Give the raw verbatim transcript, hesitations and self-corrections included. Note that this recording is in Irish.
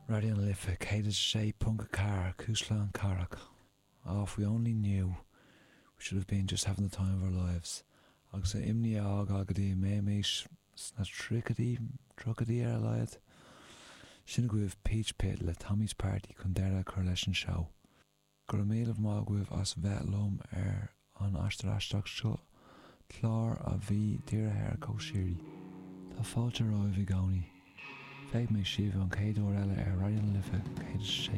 Raidió na Life céad a sé ponc a ceathair Cuisleán Cathrach. Oh, if we only knew we should have been just having the time of our lives. Agus an imní a fhágáil go dtí mbeimis sna tríochaidí tríochaidí ar a laghad. Sin agaibh Peach Pit le Tommy's Party chun deireadh a chur leis an seó. Go raibh míle maith agaibh as bheith liom ar an aistear aisteach seo clár a bhí dírithe ar cóisirí. Tá fáilte romhaibh i gcónaí. Feicfidh mé sibh an chéad uair eile ar Raidió na Life céad sé